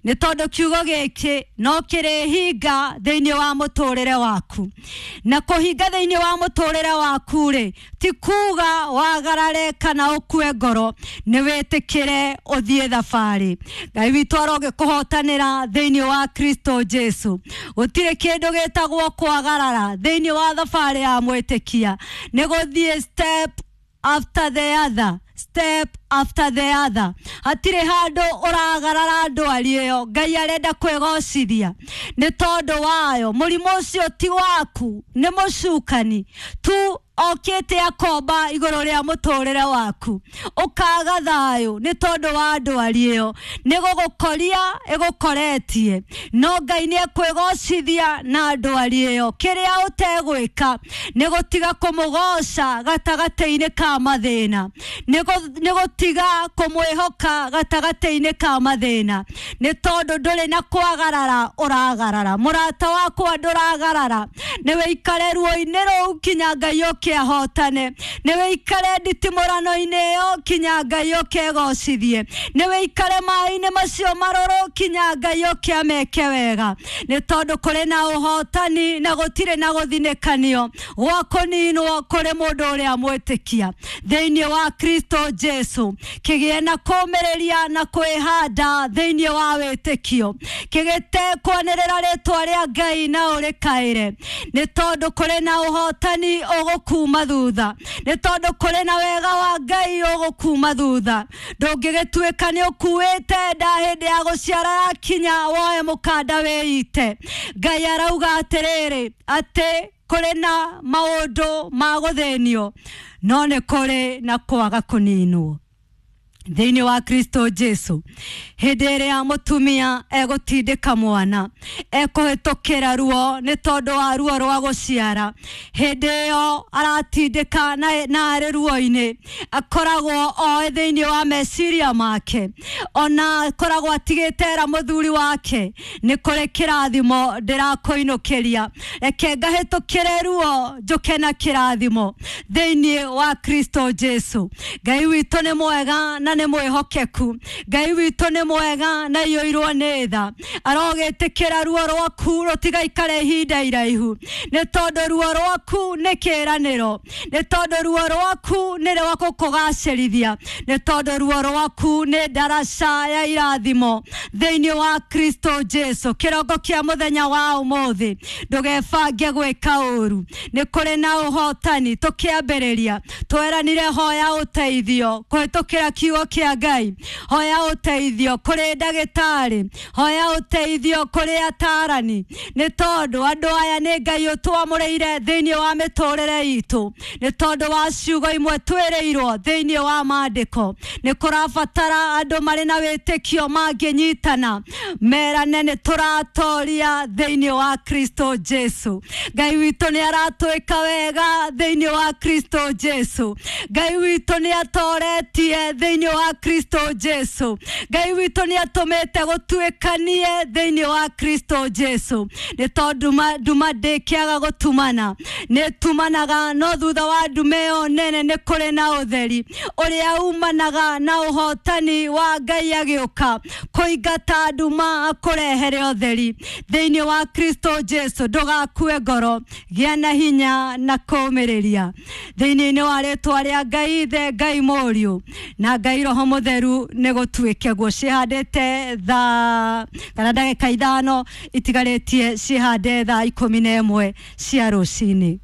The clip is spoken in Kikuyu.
Nĩ tondũ kiugo gĩkĩ no kĩrĩhinga thĩinĩ wa mũtũrĩre waku. Na kũhinga thĩinĩ wa mũtũrĩre waku rĩ, ti kuga wagarare kana ũkue ngoro, nĩ wĩtĩkĩre ũthiĩ thabarĩ. Ngai witũ arogĩkũhotanĩra thĩinĩ wa Kristo Jesu. Gũtirĩ kĩndũ gĩtagwo kwagarara thĩinĩ wa thabarĩ ya mwĩtĩkia, nĩ gũthiĩ step after the other, step after the other. Hatirĩ handũ ũragarara ndwari ĩyo. Ngai arenda kwĩgocithia nĩ tondũ wayo. Mũrimũ ũcio ti waku, nĩ mũcukani tu okĩte akomba igũrũ rĩa mũtũrĩre waku, ũkaga thayũ nĩ tondũ wa ndwari ĩyo. Nĩ gũgũkoria ĩgũkoretie, no Ngai nĩ ekwĩgocithia na ndwari ĩyo. Kĩrĩa ũtegwĩka nĩ gũtiga kũmũgoca gatagatĩ-inĩ ka mathĩna, nĩ gũtiga kũmwĩhoka gatagatĩ-inĩ ka mathĩna, nĩ tondũ ndũrĩ na kwagarara ũragarara. Mũrata wakwa ndũragarara, nĩ wĩikare ruo-inĩ rũu kinya Ngai ũke ahotane, nĩ wĩikare nditimũrano-inĩ ĩyo kinya Ngai ũke egocithie, nĩ wĩikare maĩ-inĩ macio marũrũ kinya Ngai ũke ameke wega, nĩ tondũ kũrĩ na ũhotani na gũtirĩ na gũthinĩkanio gwa kũninwo kũrĩ mũndũ ũrĩa mwĩtĩkia thĩinĩ wa Kristo Jesu. Kĩgĩe na kũmĩrĩria na kwĩhanda thĩinĩ wa wĩtĩkio, kĩgĩte kwanĩrĩra rĩtwa rĩa Ngai na ũrĩkaĩre, nĩ tondũ kũrĩ na ũhotani ũgũkuma thutha, nĩ tondũ kũrĩ na wega wa Ngai ũgũkuma thutha. Ndũngĩgĩtuĩka nĩ ũkuĩte nda hĩndĩ ya gũciara yakinya woe mũkanda wĩite. Ngai arauga atĩrĩrĩ, atĩ kũrĩ na maũndũ ma gũthĩnio, no nĩ kũrĩ na kwaga kũninwo thĩinĩ wa Kristo Jesu. Hĩndĩ ĩrĩa mũtumia egũtindĩka mwana, ekũhĩtũkĩra ruo nĩ tondũ wa ruo rwa gũciara, hĩndĩ ĩyo aratindĩka na arĩ ruo-inĩ, akoragwo oĩ thĩinĩ wa meciria make, ona akoragwo atigĩte era mũthuri wake, nĩ kũrĩ kĩrathimo ndĩrakũinũkĩria, reke ngahĩtũkĩre ruo njũke na kĩrathimo thĩinĩ wa Kristo Jesu. Ngai witũ nĩ mwega na nĩ mwĩhokeku, Ngai witũ nĩ mwega na iyũirwo nĩ tha. Arogĩtĩkĩra ruo rwaku rũtigaikare ihinda iraihu, nĩ tondũ ruo rwaku nĩ kĩĩranĩro, nĩ tondũ ruo rwaku nĩ rwa gũkũgacĩrithia, nĩ tondũ ruo rwaku nĩ ndaraca ya irathimo thĩinĩ wa Kristo Jesu. Kĩrongo kĩa mũthenya wa ũmũthĩ, ndũgebange gwĩka ũru, nĩ kũrĩ na ũhotani. Tũkĩambĩrĩria tweranire hoya ũteithio kũhĩtũkĩra kiugo kĩa Ngai, hoya ũteithio kũrĩ ndagĩtarĩ, hoya ũteithio kũrĩ atarani, nĩ tondũ andũ aya nĩ Ngai ũtwamũrĩire thĩinĩ wa mĩtũrĩre itũ, nĩ tondũ wa ciugo imwe twĩrĩirwo thĩinĩ wa maandĩko. Nĩ kũrabatara andũ marĩ na wĩtĩkio mangĩnyitana merane nĩ tũratoria thĩinĩ wa Kristo Jesu. Ngai witũ nĩ aratwĩka wega thĩinĩ wa Kristo Jesu. Ngai witũ nĩ atoretie thĩinĩ wa Kristo Jesu. Ngai witũ nĩ atũmĩte gũtuĩkanie thĩinĩ wa Kristo Jesu. Nĩ tondũ nduma ndĩkĩaga gũtumana, nĩ tumanaga, no thutha wa nduma ĩyo nene nĩ kũrĩ na ũtheri ũrĩa umanaga na ũhotani wa Ngai agĩũka kũingata nduma akũrehere ũtheri thĩinĩ wa Kristo Jesu. Ndũgakue ngoro, gĩa na hinya na kũũmĩrĩria thĩinĩ wa rĩtwa rĩa Ngai Ithe, Ngai Mũriũ na Ngai Roho Mũtheru. Nĩ gũtuĩke guo. Ciĩhandĩte thaa kana ndagĩka 5 itigarĩtie ciĩhande thaa 11 cia rũcinĩ.